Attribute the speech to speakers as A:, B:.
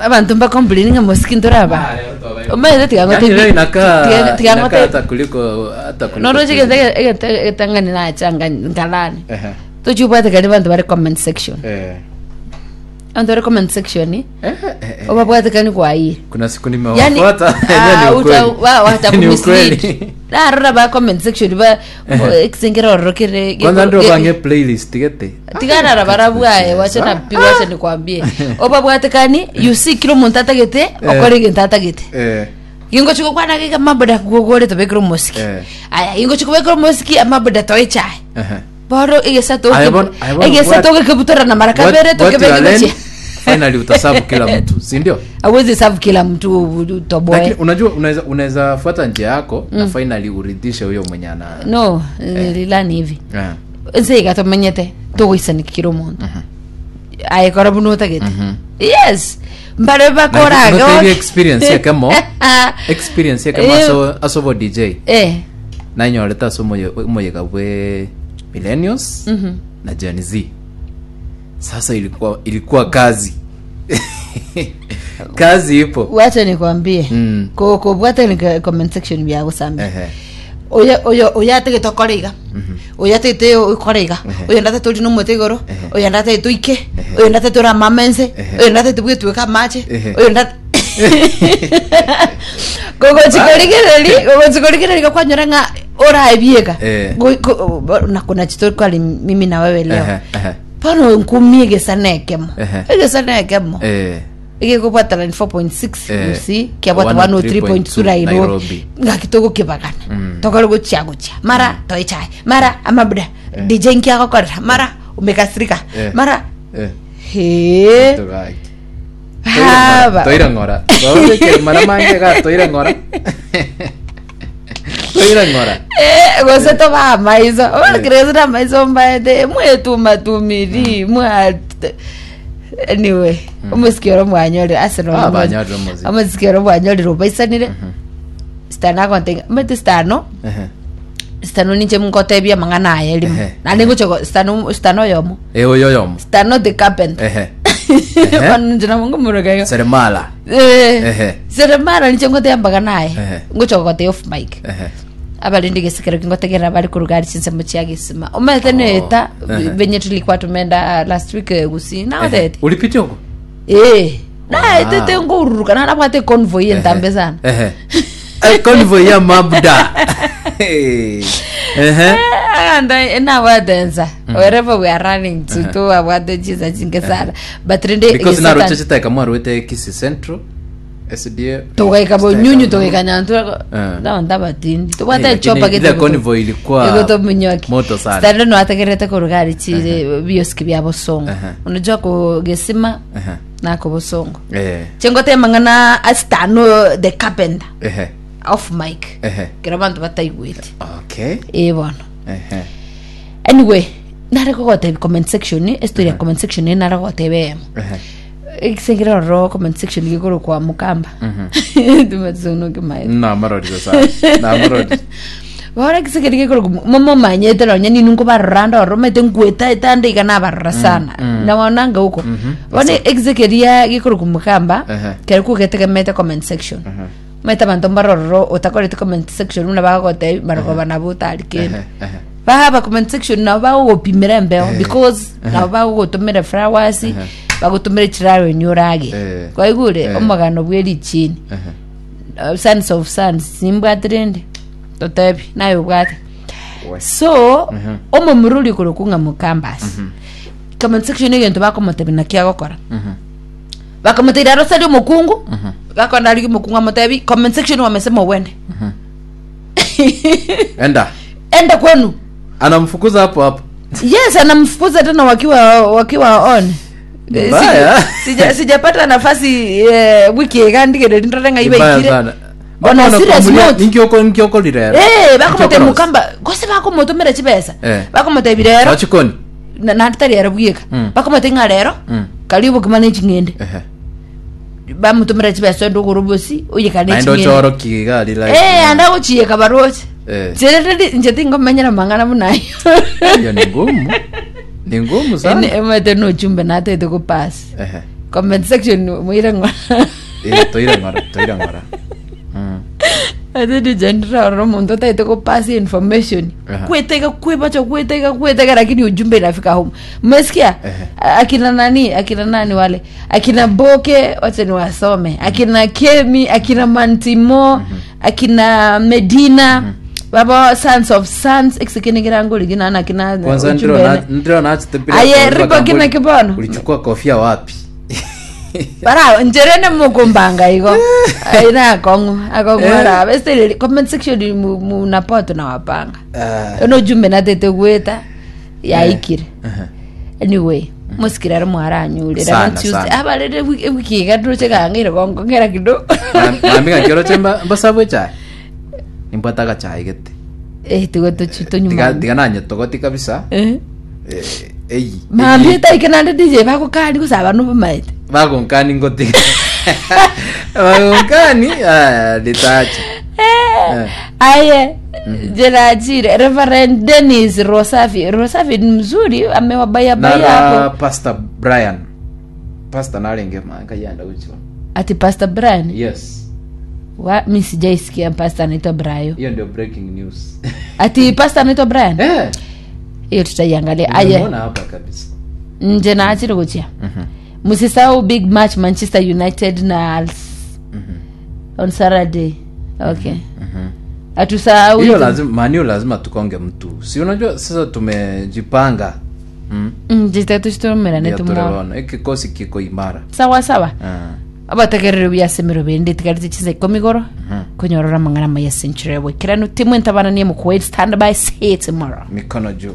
A: Abanto mbacomplain ng'a mosiki ntoraba. Omanyete tiga
B: Yani
A: ngotebi-
B: leo inakaa
A: tiga- tiga
B: inakaa
A: ngotebi-
B: hata kuliko hata kuliko
A: Noroche
B: president.
A: egento egento egetang'ani nacha nga- nkalani.
B: Ehe.
A: Tochibwatekani banto bare comment section.
B: Eh.
A: Abanto bare comment section
B: Eh, eh, eh.
A: obabwatekani kwaye.
B: Kuna siku
A: Yani
B: nimewafuata Yenyewe
A: ah,
B: ni
A: uta-
B: ukweli.
A: wa-
B: Ni
A: watakumislead.
B: ukweli.
A: Narora ba comment section ba ekisengera ororo kere
B: Kwanza ndio
A: ge-
B: bange playlist gete.
A: tigana barabwaye wacha na pi wacha nikwambie obabwatekani you see kila omonto atagete okore egento atagete
B: Eh.
A: Gingochi gokwana iga amaboda gogore tobekere omosiki
B: Eh.
A: aya gingochi kobekera omosiki amaboda toe echae
B: Ehe.
A: bono egesa
B: Aye bono- aye bono
A: egesa
B: what-
A: togekebutorana mara
B: What-
A: kabere
B: what you
A: tokebeke
B: are learning,
A: gochia
B: finally utasabu kila mtu si ndio
A: awezi serve kila mtu utoboe
B: lakini unajua unaweza unaweza fuata njia yako na finally uridhishe huyo mwenye ana
A: no nililani hivi
B: Eh.
A: nse iga tomenyete togoisaniki kira omonto aye kora buna otagete yes mbare bakoraga
B: Notebi experience ekemo experience ekemo
A: Eh.
B: aso aso bo DJ
A: eh
B: nanyorete ase omoye- omoyega bwe millennials na Gen Z sasa ilikuwa ilikuwa kazi kazi ipo
A: wacha nikwambie
B: Mm.
A: ko kobwata ni comment section byagusambia
B: Ehe.
A: oyo oyo oyo atagete okore iga oyo atagete okore iga oyo ndatete ori nomote igoro oyo ndatete oike oyo ndatete ore amama ense oyo ndatete bwetweka amache
B: Ehe.
A: oyo nda gogochi korigereri gogochi korigereri gakwanyora ng'a oraebieka
B: Eh.
A: Go- go- bo- na kuna chitokali mimi na wewe leo
B: Ehe, ehe.
A: bono nkumia egesa na ekemo
B: Ehe.
A: egesa na ekemo
B: Eh.
A: egekobwata 94.6
B: Eh,
A: UC kiabwata 103.2 Nairobi
B: Nairobi.
A: ngaki togokebagana tokore gochia gochia mara toichae mara amabuda DJ nkiagokorera mara umekasirika
B: Eh.
A: mara
B: Eh.
A: he
B: Tugaki.
A: haba
B: Toire ng'ora. Twabekere mara mange ga toire ng'ora. Toire ng'ora.
A: Eh, gose toba amaiso obakereza na amaiso mbaete mwetumatumiri mwa anyway omosiki oro mwanyorire Arsenal
B: Ah,
A: omo-
B: banyorire omosiki.
A: omosiki oro mwanyorire obaisanire stano agontebia omanyete stano
B: Ehe.
A: stano ninche ngotebia amang'ana aye rimo
B: Ehe.
A: naende ngocha go- stano stano oyomo
B: Eh oyo yomo.
A: stano the carpenter
B: Ehe. Ehe.
A: bono inche nabo ngomoroka igo
B: Seremala.
A: Eh,
B: Ehe.
A: seremala ninche ngotebia amang'ana aye
B: Ehe.
A: ngocha gogotebia off mic
B: Ehe.
A: abarindi gesikero kingotegerera bari kuruga ari chinsemo chia gesima omanyete neta
B: Ehe.
A: venye tulikuwa tumeenda last week eh, gusii naotete
B: Ulipitia huko?
A: eh naetete ngoururuka narabwate convoy entambe sana
B: Ehe. Eh, Convoy ya mabda. Ehe.
A: Aganda nabwate ensa wherever we are running to tobabwate chinsa chinke sana but rende
B: Because
A: egesatan-
B: naroche chiteka mwarwete Kisii Central. SDA.
A: tugaika bonyunyu tugaika nyantura
B: Eh.
A: nabanto abatindi
B: Eh,
A: tobwate
B: lakini
A: echopa
B: ile convoy ilikuwa moto sana.
A: stando noategerete koruga ari chire bioski bia bosongo
B: Ehe.
A: unajua ko gesima
B: Ehe.
A: nako bosongo
B: Eh.
A: chengote mang'ana asitano the carpenter
B: Ehe.
A: off mic
B: Ehe.
A: kero abanto bataigwete
B: Okay.
A: eh bono
B: Ehe.
A: anyway nare kogotebia comment section estory ya comment section eye nare gogotebia eyemo
B: Ehe.
A: egisengere ororo comment section gekorokwa mukamba tumatsonokimaete
B: Namarorire sana. Namarorire.
A: bono egisengere gekorokwa momomanyete nonya nini nkobarora ande ororo omanyete nkweta etande iga nabarora sana nawananga huko bono egisekeria gekorokwa mukamba
B: Ehe.
A: kero kugetegemete comment section omanyete abanto mbarororo otakoreti comment section buna bagogotebia barogoba nabo otari kende
B: Ehe. Ehe.
A: Bahaba comment section nabo bagogopimera embeo because nabo bagogotomera flowers bagotomera chiraro inye orage
B: Eh.
A: kwaigure
B: Eh.
A: omogano bwe richini
B: Ehe.
A: Uh, sons of sons nimbwate rende totebi naye obwate
B: We.
A: so omomura oria okorokwa ng'a mokambas comment section egento bakomotebia naki agokora bakamotebia aroserie omokungu gakona arigie omokungu amotebi comment section wamesema uende
B: Enda.
A: enda kwenu
B: Anamfukuza hapo hapo.
A: yes anamfukuza tena wakiwa wakiwa on Eh,
B: Mbaya.
A: sija- sija- sijapata nafasi eh, wiki iga ndigere ndore ng'a
B: Mbaya
A: ibaikire
B: sana.
A: On a serious note.
B: Ninkioko ninkioko lirero.
A: Eh, bakomotebia mukamba gose bakomotomera chibesa
B: Eh.
A: bakomotebia rero
B: Wachikoni.
A: na- naende tari ero bweka
B: Mm.
A: bakomotebia ng'a rero
B: Mm.
A: kari obokima na eching'ende
B: Ehe.
A: bamotomera chibesa onde ogore obosi oyekane
B: Naende
A: eching'ende
B: ochoro kiga lila.
A: Eh, ande agochiyeka baroche
B: Eh.
A: Nche inche tingomenyera mang'ana buna ayo
B: Hiyo ni ngumu. Ni ngumu sana.
A: Ene- emanyete nochumbe natete gopasi
B: Ehe.
A: Comment section moire ng'ora.
B: Eh, toire ng'ora toire ng'ora
A: Ate DJ ndiraorora omonto otaete gopass information.
B: Aha.
A: Kwetega kwebacha kwetega kwetega lakini ujumbe inafika home. Umesikia?
B: Ehe.
A: Akina nani? Akina nani wale? Akina Boke wacha niwasome. Akina Kemi, akina Mantimo, akina Medina. Baba Sons of Sons ekisekene rigina na akina
B: kwanza
A: ujumbe
B: ndiro
A: ene.
B: ndiro nachitepira
A: Aye, ripo kina kibono.
B: ulichukua kofia wapi
A: bara njerene mukumbanga igo aina akong'u akong'u
B: Eh.
A: ara bese comment section munapoto na wapanga
B: Ah.
A: ono jumbe natete gweta yaikire
B: Ehe.
A: anyway musikira ari mwaranyurira
B: Sana,
A: on Tuesday
B: sana.
A: abarere wiki iga kang'ire gongong'era kidogo
B: nambika kioro che mbasabu echae nimbwate agachae gete
A: eh tigo tuchito nyuma
B: tiga nanyetogoti kabisa
A: eh
B: Eh, eyi
A: mambie taike nande DJ bagukari gusaba nubumaete
B: bagonkani ngotiga bagonkani ah, litacha
A: Eh, aye jerajire Reverend Dennis Rosafi Rosafi ni mzuri amewabayabaya
B: nara
A: hapo
B: pastor brian pastor narenge manka yanda guchiwa
A: ati Pastor Brian
B: yes
A: wa mi sijaisikia pastor anaitwa Brian
B: hiyo ndio breaking news
A: ati pastor anaitwa Brian
B: eh
A: hiyo tutaiangalia aye
B: nimemuona hapa kabisa
A: nje na achiri kuchia msisahau big match Manchester United na Als on Saturday okay atusahau
B: hiyo
A: hizo.
B: lazima manio lazima tukonge mtu si unajua sasa tumejipanga mm.
A: Jitatushitumirane
B: Ndio
A: tumwona
B: tuliona hiki kikosi kiko imara
A: sawa sawa
B: Ah.
A: abategerere biasemero bende tigarite chiza ikomi igoro konyorora amang'ana maya century bwekiranu timwe ntabananie mukuwait stand by see you tomorrow
B: mikono juu.